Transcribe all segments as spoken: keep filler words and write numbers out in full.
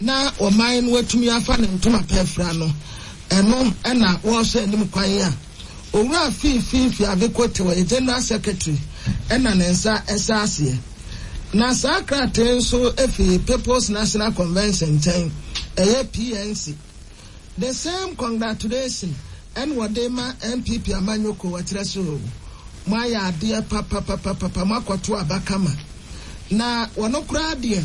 Na ɔman no atumi afa ne ntoma pɛ afira no, ɛno na wɔrehwɛ anim kwan a Owura Fiifi Fiavi Kwetey, ɔyɛ General Secretary, na ne nsa hyɛ aseɛ. Na saa krataa yi nso fi People's National Convention nkyɛn, ɛyɛ P N C. The same congratulation ɛna wɔde ma N P P amanyɔkuo. Wɔkyerɛ so moayɛ adeɛ papapapapa, moakɔto aba kama. Na wɔno koraa deɛ,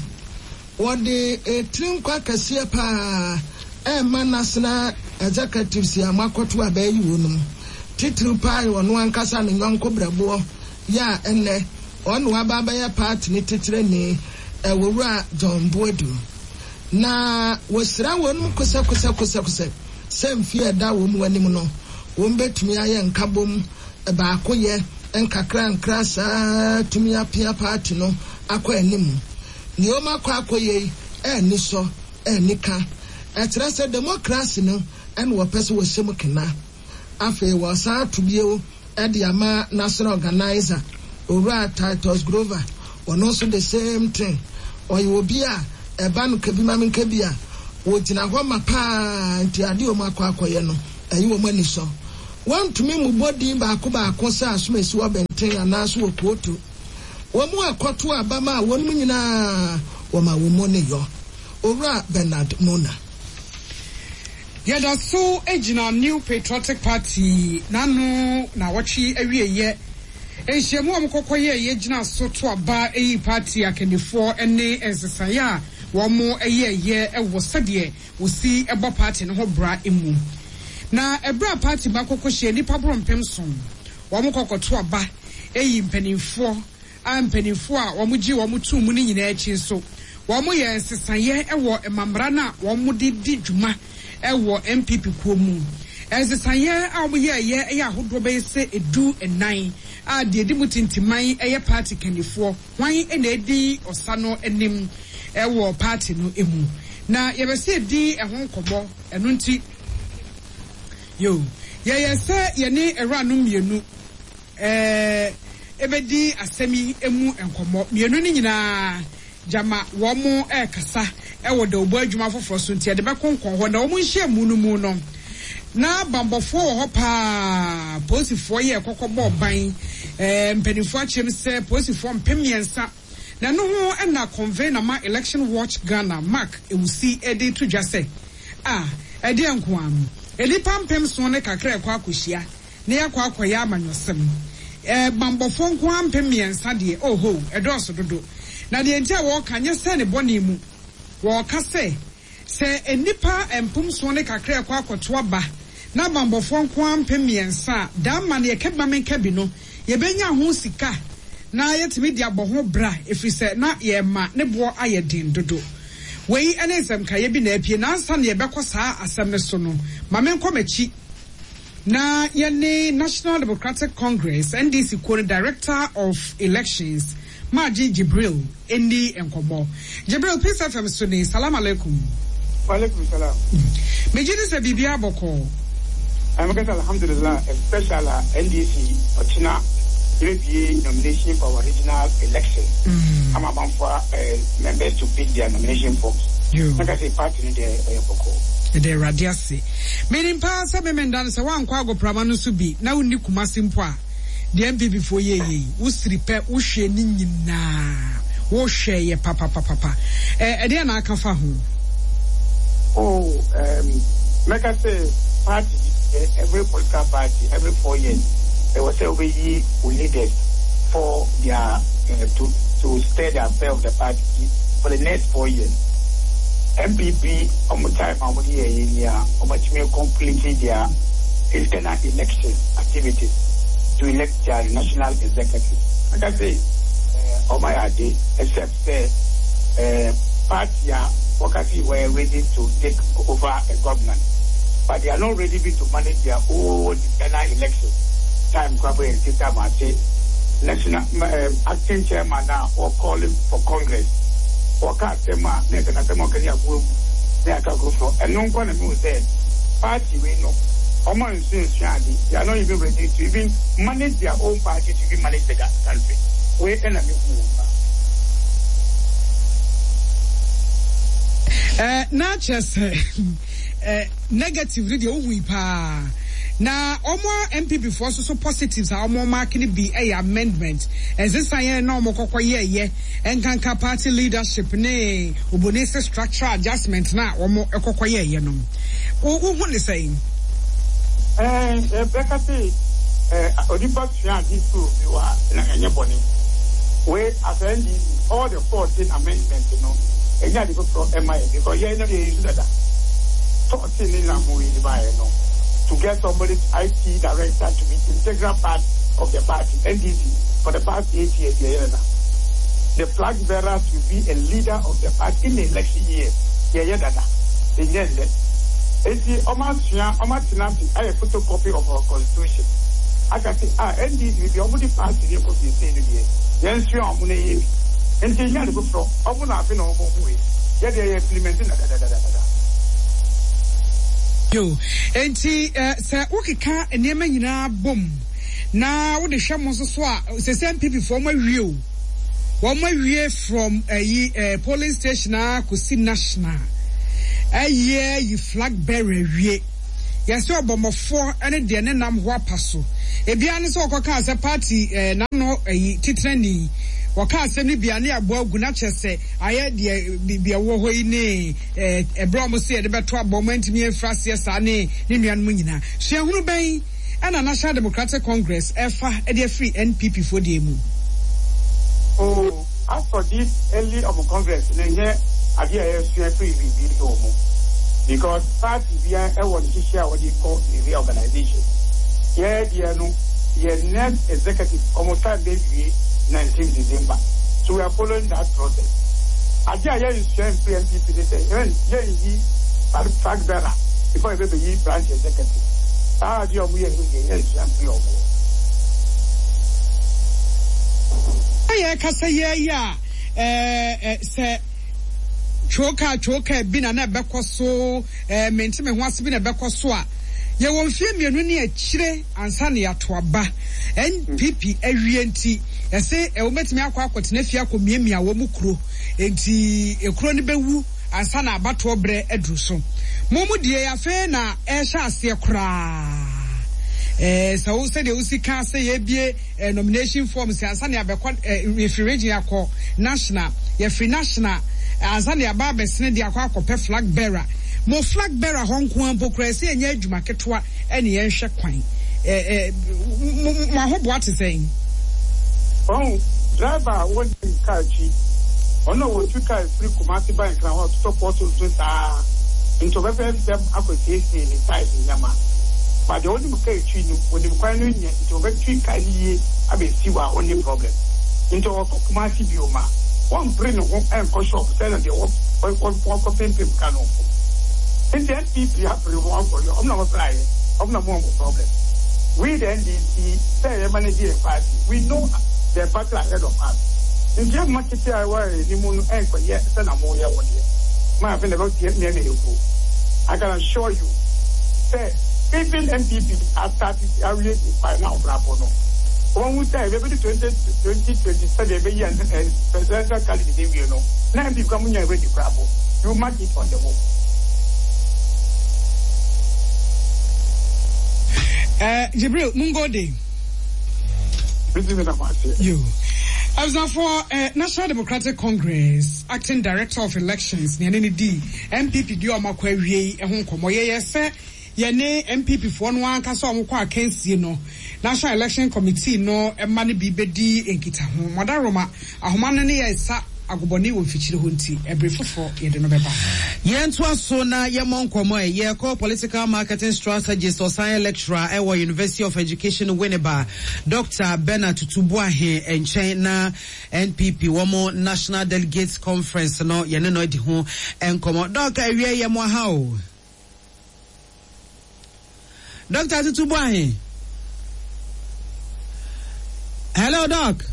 wɔde etiri nkwa kɛseɛ paa ɛma national executives a moakɔto aba yi wɔ no mu. Titiri paa yɛ ɔno ankasa ne nyɔnko brɛboɔ yɛ a ɛnɛ ɔno waba abɛyɛ party ne titire ɛwɔwura John Boadu, na wɔsira wɔn mu kosɛkosɛkosɛkosɛ sɛ mfie ɛda wɔn mu anim no, wɔn bɛtumi ayɛ nkabom baako yɛ nkakra nkra saa tumi apia party no akɔ anim. Nea wɔn akɔ akɔyɛ yi ɛɛni sɔ ɛɛni ka, ɛkyerɛ sɛ democracy no ɛna wɔpɛ sɛ wɔhyɛ mu kena. Afei wɔsan ato bio ɛde ama national organizer, Owura Titus Glover. Ɔno nso the same thing, ɔyɛ obi a ɛba no kabi ma nka bi a wɔgyina hɔ ma paa, nti adeɛ wɔn akɔ akɔyɛ no ɛyi wɔn ani sɔ. Wɔntumi mu bɔ din baako baako sɛ asomasi wɔ bɛnten anaasɛ wɔ kootu wɔn mu akɔto abama a wɔn mu nyinaa wɔma wɔn mu ne yɔ Owura Bernard Mornah. Yɛda so gyina New Patriotic Party n'ano na wɔtwe awieyɛ nhyiamu a wɔkɔkɔ yɛ yɛgyina so to aba eyi party akannifoɔ ne nsesaeɛ a wɔn yɛɛyɛ wɔ sɛdeɛ wɔsi bɔ party no ho bra mu. Na ɛberɛ a party ba kɔkɔ hyia nnipa boro mpem nson, wɔn kɔkɔto aba eyi mpanimfoɔ a mpanimfoɔ a wɔn gye wɔn tum mu no nyinaa akyi nso, wɔn yɛ nsesaeɛ wɔ mmamra no a wɔn de di dwuma wɔ N P P kuo mu. Nsesaeɛ a wɔn yɛɛyɛ yɛ ahodoɔ bɛyɛ sɛ edu nnan a deɛ edi mu tintiman yɛ party kannifoɔ, hwan na edi ɔsa no anim wɔ party no mu, na yɛbɛsɛ edi ɛho nkɔmɔ. Ɛno nti yo, yɛyɛ sɛ yɛne awuranom mmienu ɛɛ ebedi asɛm yi mu nkɔmɔ. Mmienu no nyinaa gyama wɔn ɛrekasa ɛwɔ dawubɔ adwuma foforɔ so, nti yɛde bɛkɔ nkɔn hɔ. Na wɔn nhyiamu no mu no, na bambɔfoɔ wɔ hɔ paa, polisifoɔ yɛ kɔkɔ bɔɔ ban. ɛɛ mpanimfoɔ akyerɛm sɛ polisifoɔ mpem mmiɛnsa, na ɛno ho ɛna convener ma Election Watch Ghana, Mark Ewusi, ɛde to dwa sɛ a ɛdeɛ nkoa no, nnipa mpem nson ne kakra ɛkɔ akɔhyia na yɛakɔ akɔyɛ amanyɔsɛm, ɛɛ bambɔfoɔ nkoa mpem mmiɛnsa deɛ, oho, ɛdɔɔso dodo. Na deɛ nti a wɔreka nyɛ sɛ ne bɔne mu, wɔreka sɛ sɛ nnipa mpem nson ne kakra ɛkɔ akɔto aba na bambɔfoɔ nkoa mpem mmiɛnsa a, daa ma no yɛka bi ma menka bi no, yɛbɛnya ho sika na yɛtumi de abɔ ho bra, ɛfiri sɛ na yɛma ne boɔ ayɛ den dodo. Wei ne nsɛmkaeɛ bi na apie. Nansa na yɛbɛkɔ saa asɛm no so no, ma menkɔ m'akyi na yɛne National Democratic Congress, N D C kuo no director of elections, Maagye Jibril, ɛni nkɔmmɔ. Jibril, Peace F M so ne, salam alaikum. Walaikum salam. Megye di sɛ biribiara bɔkɔɔ. Ɛmɛkɛsɛ alhamdulillah, especially N D C ɔkyena yɛbɛbie nomination for our regional election ama amanfoɔ uh, members to pick their nomination forms. Mɛka sɛ party no deɛ, ɛyɛ bɔkɔɔ. Ɛdɛ Awurade ase. Menim paa sɛ memenda no sɛ woankɔ agoprama no so bi na wonni Kumase mpo a, deɛ N P P foɔ yɛyɛ yi, wosiri pɛ wohwɛ ne nyinaa, wohwɛ yɛ papapapapa. Ɛdeɛ na aka fa ho? Oh, um, mɛka sɛ party, every political party, every four years ɛwɔ sɛ wobɛyi wo leaders for their uh, to to steer the affair of the party for the next four years. N P P ɔmo time a ɔmo de yɛ yɛ ni a ɔmo atumi complete their internal election activities to elect their national executive. Mɛka sɛ ɔmo ayɛ ade, except sɛ uh, party a wɔka sɛ wɔyɛ ready to take over a government, but they are not ready to manage their own internal election. Time kora bɔ yɛn ti time ase, national um, acting chairman na wɔ calling for congress, wɔka asɛm a na ɛsɛ n'asɛm a ɔka ne aboa mu na yɛaka foforɔ. Ɛno nkɔ na mehu sɛ party wei no, ɔmo nsuasua ade. They are not even ready to even manage their own party, to even manage the country. Wei ɛna mehu wɔn pa. Eh, na kyerɛ sɛ eh, negative no deɛ wohui paa na ɔmo N P P foɔ nso so positives a ɔmo mark no bi ɛyɛ amendment ɛnsesan yɛn na ɔmo kɔkɔ yɛɛyɛ nkanka party leadership ne oboni sɛ structural adjustment na ɔmo ɛkɔkɔ yɛɛyɛ no, wohu ne sɛn? Ɛɛ ɛbɛka sɛ ɛɛ onipa sua ade firi obi hɔ a, na ɛnyɛ bɔne. Wei as N D C, all the fourteen amendment no, ɛnyɛ ade foforɔ ɛma yɛ because yɛn no yɛ use dada. Fourteen ne na mo yi baayɛ no to get somebody I T director to be integral part of the party, N D C for the past eight years yɛ yɛ dada. The flag bearer to be a leader of the party in the election year, yɛ yɛ dada, ɛnyɛ ndɛ. Eti ɔmo asua, ɔmo atena ase ayɛ photocopy of our constitution aka sɛ a N D C bi ɔmo de party ne kɔ siesie no deɛ, yɛn sua ɔmo na yɛ bi nti nyɛ ade foforɔ. Ɔmo na afe na ɔmo hu yi yɛ deɛ yɛ implement na dadadadada. Yo, nti eh, sɛ wokeka nneɛma nyinaa bom na wode hwɛ mo nso so a, sɛ sɛ N P P foɔ ɔmo awie o, wɔn awie from ɛyi eh, eh, polling station a kɔsi national, ɛyɛ yi flag bearer awie, yɛsɛ ɔbɔmmɔfoɔ ne deɛ ne nam ho apa so. Ebia ne sɛ wɔkɔkaa sɛ party ɛɛ n'ano ɛyi titenani wɔka asɛm no bia ne aboa agu na kyerɛ sɛ ayɛ deɛ biribi a ɛwɔ hɔ yi ne ɛɛ ɛberɛ a wɔn sɛ yɛde bɛto abɔ wɔn ntumi mfra aseɛ saa ne ne nuanom nyinaa. Suahunu bɛn ɛna National Democratic Congress ɛfa ɛde afiri N P P foɔ deɛ mu? Oh, as for this early of congress na nyɛ adeɛ a yɛsua firi biribi wɔ mu because party bia ɛwɔ nhyehyɛ a wɔde kɔ ne reorganization. Yɛ deɛ no, yɛ next executive ɔmo time bɛ wie nineteen December, so we are following that process. Adeɛ a yɛnsua mfiri N P P ne sɛ yɛn yɛnyi flag bearer before yɛ bɛ bɛyi branch executive. Saa adeɛ a ɔmo yɛ no deɛ, yɛnsua mfiri ɔmo. Yɛ kasa yɛ yi a ɛɛ sɛ twoka twoka bi na na ɛbɛkɔ so ɛɛ mente me ho ase bi na ɛbɛkɔ so a, yɛwɔ mfie mmienu ne akyire ansa na yɛato aba. N P P awie nti ɛsɛ ɛwɔ mɛtumi akɔ akɔtena fie akɔ miamia wɔn mu kuro nti ekuro no bɛwu ansa na abatoɔ berɛ aduru so. Mo mu deɛ, afei na ɛhyɛ aseɛ koraa. ɛɛ sɛ wo sɛdeɛ wosi ka sɛ yɛbie ɛɛ nomination form sɛ ansa na yɛabɛkɔ ɛɛ yɛfiri region akɔ national, yɛfiri national ansa na yɛaba abɛsene de akɔ akɔpɛ flag bearer. Mo flag bearer hɔ nko ara mpo koraa sɛ yɛnyɛ adwuma ketewa ɛne yɛnhwɛ kwan ɛɛ ɛɛ mo mo ahoboa te sɛn? Ɔn driver a wɔnim kaa akyi, ɔno a wɔtu kaa firi Kumase ba Nkran hɔ ɔtotɔ pɔtɔ so saa nti ɔbɛpɛ ntɛm akɔsiesie ne tyres nneɛma ba deɛ ɔnim kaa akyi no, wɔnim kwan no nyɛ nti ɔbɛtwi kaa no yie abɛsi wɔ a ɔnni problem. Nti ɔkɔ Kumase bio ma wɔmpere ne ho ɛnkɔ shop sɛnɛ deɛ wɔkɔ pempem ka no. Nti N P P apere ho akɔ yɛ ɔmo na wɔpere ayɛ ɔmo na mo wɔ problem. We the N D C sɛ yɛ manage yɛ party, we know the party ahead of us nti ɛmma tete a ɛwɔ anim no ɛnkɔyɛ sɛ na mo yɛ wɔ deɛ maa afei na ɛbɛtie mmea na ɛkuro. I can assure you sɛ even N P P astart awie by now brabo no, wɔn ho sɛ ɛbɛbi twenty twenty twenty seven ɛbɛyi presidential candidate wie no na N P P kura mo nya ready brabo. You mark it on the wall. Uh, Jibril Mungode. Bisi mi na ma se. Yo. Abusuafoɔ, uh, National Democratic Congress Acting Director of Elections ne ɛne ne di N P P di ɔmo akɔ awie yi ho nkɔmɔ. Yɛyɛ sɛ yɛne N P P foɔ no ankasa ɔmo kɔ akansie no, National Election Committee no ɛma no bi bɛdi nkitaho. Mɔdaroma ahoma no ne yɛ nsa agobɔne wɔ mfikyire hɔ nti ɛbere foforɔ yɛde no bɛba. Yɛntoa so na yɛmmɔ nkɔmmɔ ɛ. Yɛkɔ political marketing strategist, ɔsan lecturer ɛwɔ University of Education Winneba, Doctor Bernard Tutu Boahe nkyɛn na N P P wɔn National Delegates Conference no yɛne no adi ho nkɔmmɔ. Doc, awie yɛ mo aha o. Doctor Tutu Boahe, hello Doc.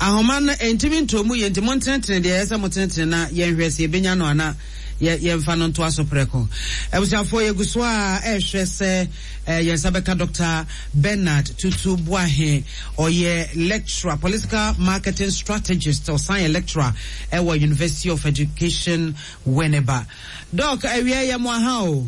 Ahoma no ntumi ntomu yɛ nti mo ntenetene deɛ ɛyɛ sɛ mo tenetene na yɛnhwɛ sɛ yɛbɛnya no ana. Yɛ yɛmfa no ntoa so prɛko. Abusuafoɔ, yɛgu so a ɛrehwɛ sɛ eh, yɛn nsa bɛka Doctor Bernard Tutu Boahe. Ɔyɛ lecturer, political marketing strategist, ɔsan yɛ lecturer ɛwɔ University of Education, Winneba. Doc, awia yɛ mo aha o.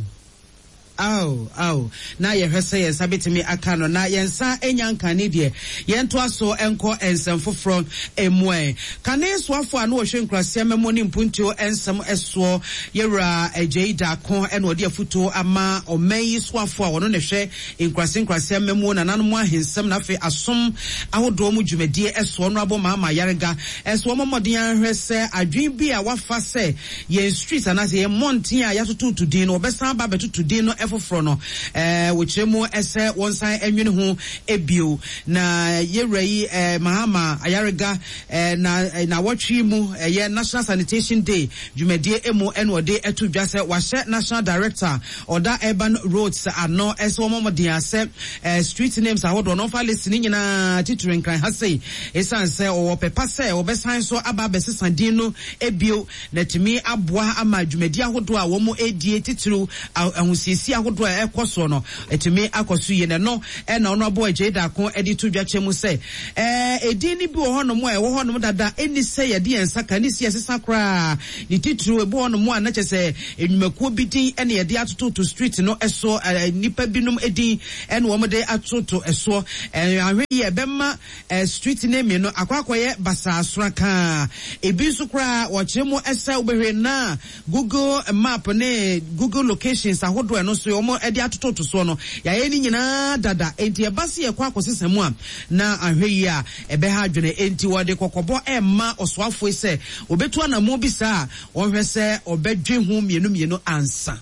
Aw, aw, na yɛhwɛ sɛ yɛn nsa bɛtumi aka no, na yɛn nsa nya nkane deɛ, yɛntoa so nkɔ nsɛm foforɔ mu ɛ. Kane soafoɔ a na wɔhwɛ nkuraseɛ mɛmo ne mpuntuo nsɛm soɔ, Yɛwura Agyei Daako, ɛna ɔde afutuo ama ɔman yi soafoɔ a ɔno na ɛhwɛ nkurase nkurase amammuo, nananom ahensɛm na afei asom ahodoɔ mu dwumadie soɔ no, abɔ Maama Ayariga ɛso wɔn mmɔden ahwɛ sɛ adwene bi a wafa sɛ yɛn street anaasɛ yɛn mmɔnten a yɛatototo din no, wɔbɛsan aba abɛtoto din no foforɔ no, ɛɛ wɔkyerɛ mu sɛ wɔnsan nwene ho ebio. Na yɛwura yi ɛɛ Mahama Ayariga ɛɛ na na wɔtwe mu ɛyɛ National Sanitation Day dwumadie emu ɛna ɔde ɛto dwa sɛ wahyɛ national director ɔda Urban Roads ano ɛsɛ wɔn mmɔden asɛ ɛɛ street names ahodoɔ no, ɔfa list ne nyinaa, titiri Nkran ha sei, esan sɛ ɔwɔ pɛpa sɛ ɔbɛsan so aba abɛsesa din no ebio na tumi aboa ama dwumadie ahodoɔ a wɔn edie, titiriw ahosiesie ahodoɔ a ɛkɔ soɔ no, etumi akɔ so yie. Na ɛno ɛna ɔno abɔ Agyei Daako ɛde to dwa kyɛ mu sɛ ɛɛ edin no bi wɔ hɔnom a ɛwɔ hɔnom dada, ɛni sɛ yɛde yɛn nsa ka ne si ɛsesa koraa. Ne titiriw ebi wɔ hɔnom a na kyɛ sɛ nnwumakuo bi din ɛna yɛde atototo street no ɛso, ɛɛ nipa binom edin ɛna wɔn de atoto ɛsoɔ. Ɛɛ ahwɛ yi ɛbɛma ɛɛ street name no akɔ akɔyɛ basaa sorakaa. Ebi nso koraa wɔkyerɛ mu ɛsɛ wobɛhwɛ na Google Map ne Google locations ahodoɔ ɛno nso wɔn de atototo soɔ no, yɛayɛ ne nyinaa dada, enti ɛba se yɛkɔ akɔsesa mu a, na ahwɛ yi a ɛbɛha adwene. Enti wɔde kɔkɔbɔ ɛmma ɔsoafoɔ yi sɛ obetu anammɔn bi saa a, wɔhwɛ sɛ ɔbɛdwe ho mmienu mmienu ansa.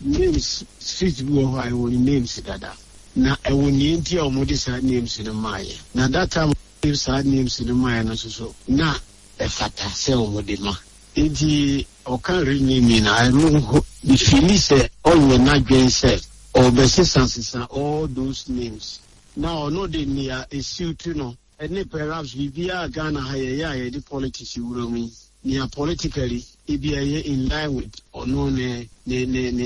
Names, street bi wɔ hɔ a ɛwɔ ne names dada, na ɛwɔ nea nti a wɔde saa names no maayɛ. Na that time wɔde saa names no maayɛ no nso so na ɛfata sɛ wɔde ma. Nti ɔka renaming na ɛno mefili sɛ ɔnyɛ n'adwen sɛ ɔbɛsesa sesa all those names, na ɔno de nea esiw no ɛne perhaps biribiara Ghana ha yɛyɛ a yɛde politics wura mu yi, nea politically ebi ɛyɛ in line with ɔno ne ne ne ne